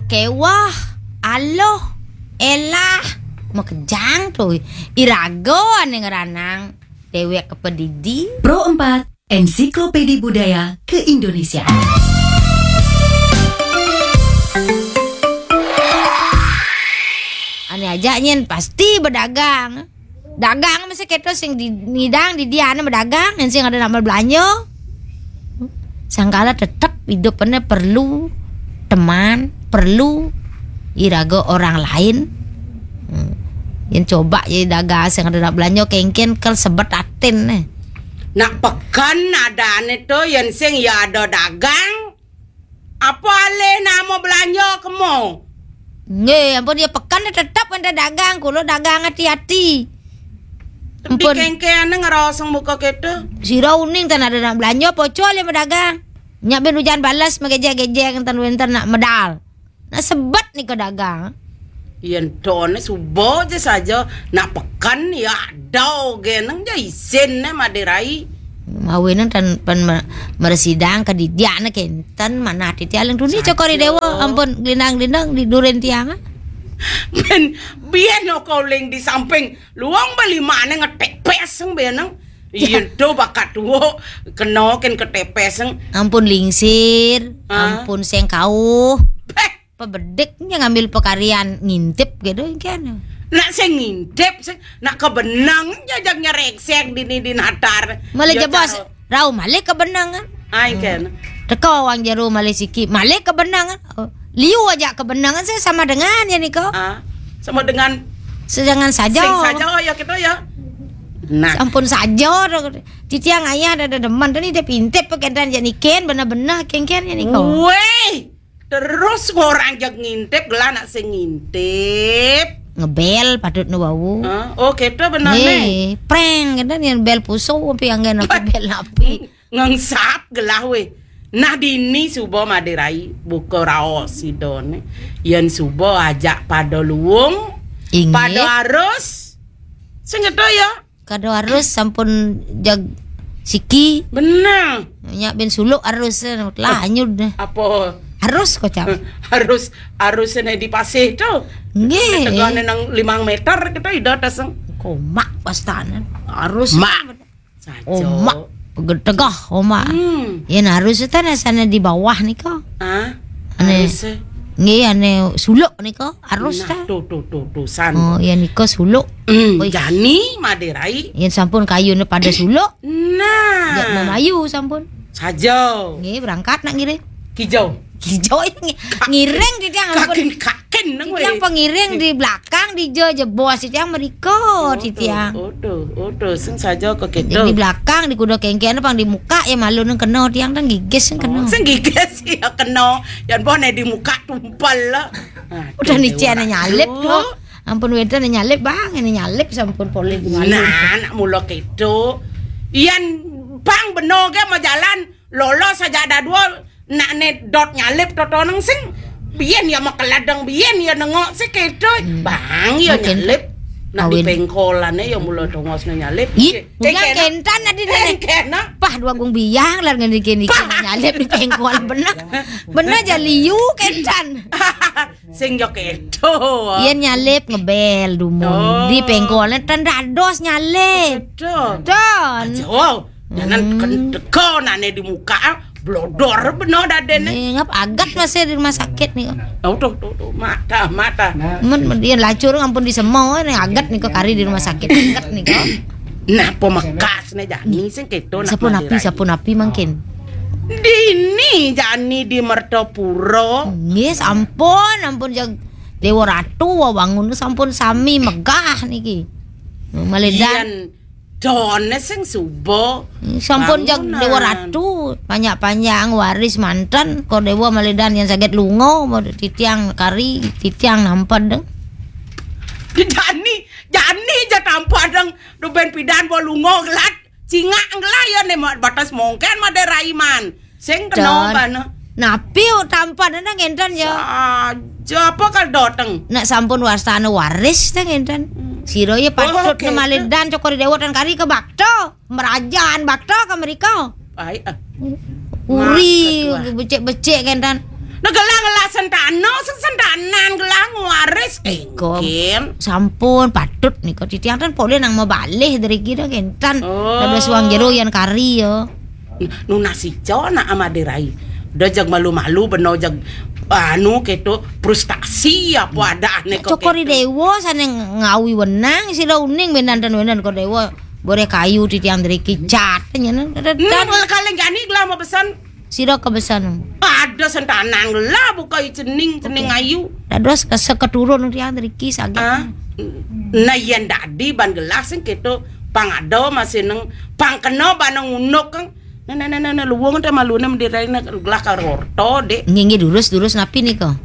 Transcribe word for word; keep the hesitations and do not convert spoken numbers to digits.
Kéweh, aluh, élah, makejang to. Iraga ané ngranang déwék ka padidi. Pro empat, Ensiklopedi Budaya Keindonesiaan. Ané ajak nyén pasti bedagang. Dagang mesti kéto sing di, ngidang di diané bedagang, yén sing ada nak belanja. Sangkala tetep idup ané perlu teman, perlu iraga orang lain. Hmm. Yén coba ya dagang sing ada nak belanja kéngkén kel sebet atin né. Nak peken adané to yén sing ya ada dagang. Apa alih nama belanja kemo? Nggih, ampun ya peken tetep ada dagang, kula dagang hati-hati. Di ampun. Kéngkéné ngerosong muka kéto. Sira uning tan ada nak belanja, poco alih medagang. Nyak ben ujan balas megejek-gejek enten wénten nak medal. Nak sebet nika dagang. Yén toné suba ja saja nak peken ya ada geneng ja isin né Madé Rai. Mawinan tan pen me-, meresidang ke didiakné kénten manah titi aling duni. Saja. Cokor I Déwa ampun glindang-glindang di durin tiang. Ben biyen oko uling di samping luang beli mané ngetek peseng beneng. Iya to bakat tuwo kena kén ketepeseng. Ampun lingsir, ah, ampun sing kauh. Beh, pebedik nya ngambil pekarian ngintip gitu kan. Nak sing ngintip sing nak kebenang jajak nyereksek dini di natar. Malah ya, jebos, caro. Rau malih kebenang kan. Ai kan. Teka wang jero malih siki, malih kebenang kan. Oh, liu aja kebenang kan sama dengan ya niko. Ah, sama dengan sedangkan saja. Sing saja ya kita ya. Nah. Sampun saja. Titiang ayah ada demen tadi dia pintip pakai dan jadi ken benar-benar ken-ken ya niko. Weh. Terus ngorang jeg ngintip gelah nak sing ngintip. Ngebel patut nu wau. Hah? Oh, kita benar nih. Prank kita nih bel puso tapi yang gen aku bel api. Ngengsap gelah weh. Nah dini suba Madé Rai buka raos sidone. Yen suba ajak pada luung, inggih, pada arus. Sing ngeto ya. Kada arus sampun jag siki. Bener. Nyak ben suluk arus lah anyud. Apa? Arus kocap. Arus, arus ne di pasih tu. Nggih. Tegane nang limang meter kita ida taseng. Komak pastanan. Arus. Mak. Saja. Omak. Tegah omak. Hmm. Yen arus tan asane di bawah nika. Ah. Ane. Arus. Nggih, ane suluk nika. Arus nah, ta? Tuh, tuh, tuh, tuh, san. Oh, ya nika suluk. Hmm, oi. Jani Madé Rai. Yen sampun kayune pada suluk. Nah. Ya memayu sampun. Saja. Nggih, berangkat nak ngiring. Kijau. Kijau ini ngi-, ngiring titiang ampun. Kakin, kakin nang titiang weh. Pengiring di belakang di jo jebos titiang meriko titiang. Odo, odo, sing saja kok gitu. Di belakang di kuda kengkene pang di muka ya malu nang kena tiang tang gigis nang kena. Oh, sing gigis ya kena. Yan bone di muka tumpal lah. Udah ni cian nyalip tu. Ampun wedan nyalip bang, ini nyalip sampun polih di malu. Nah, nak mula keto. Iyan bang beno ke mau jalan, lolos aja ada dua, nak ne dot nyalip totoneng sing. Biyen ya makeladeng, biyen ya nengok sih keto. Hmm. Bang ya mungkin nyalip. Nak di pengkolane ya mula tongos nyalip. Ih, eh, bukan kena. Kentan tadi eh, kena. Pah dua gung biang lah ngene kene nyalip di pengkol bener. Bener aja liu kentan. Sing ya keto. Yen nyalip ngebel dumun. Oh. Di pengkolnya tan dados nyalip. Keto. Don. Aja, wow. Jangan hmm. Kendeko nane di muka, ah. Blodor beno dadene. Nih, ngap agat masih di rumah sakit nih. Oh, tuh, tuh, tuh, mata, mata. Men, men, dia lacur ampun di semua nih agat nih kok kari di rumah sakit agat nih kok. Nah, pemekas nih jani sing keto nak. Sapu napi, sapu napi mangkin. Dini jani di Mertopuro. Nggih, sampun, ampun jag Dewa Ratu wawangun sampun sami megah niki. Maledan. Yen done sing suba. Sampun jag bangunan. Dewa Ratu, panjang-panjang waris manten, kok Dewa maledan yang saged lunga, mau titiang kari, titiang nampadeng. Jani, jani ja tampadeng, do ben pidan bo lunga gelat. Cingak ngelah ya ne ma-, batas mongken Madé Rai man. Sing kena bana. Napi tampan nang enten ya. Saja apa kal doteng. Nak sampun wastane waris teng enten. Hmm. Sira ya patut oh, okay. Nemale dan cokor dewa tan kari ke bakta. Merajaan bakta ke mereka. Ai, ah. Uri becek-becek kenten. Nah gelah-gelah Sentana, sentana gelah ngwaris. Eh, Nika. Mungkin. Sampun patut nika titiang ten polih nang mabalih driki dah kentan. Oh. Dados wong jero yan kari ya. Nunas ica nak amade rai. Dah jag malu-malu beno jag anu keto frustasi apa ada ane kok Cokor I keto. Dewa sane ngawi wenang sira uning benanten wenan kok Dewa. Boreh kayu titiang driki cat nyen. Hmm, kalau kalian jani gelah mau pesan. Sira kebesan. Ada sentanan gelah buka cening cening ayu. Dados kese keturun titiang driki saged. Ah. Nah yen dadi ban gelah sing keto pang ada masih neng pang kena ban nang unuk kang. Nah nah nah nah, nah luwung te malu nem dirai gelah karorto dek. Nggih nggih durus durus napi nika?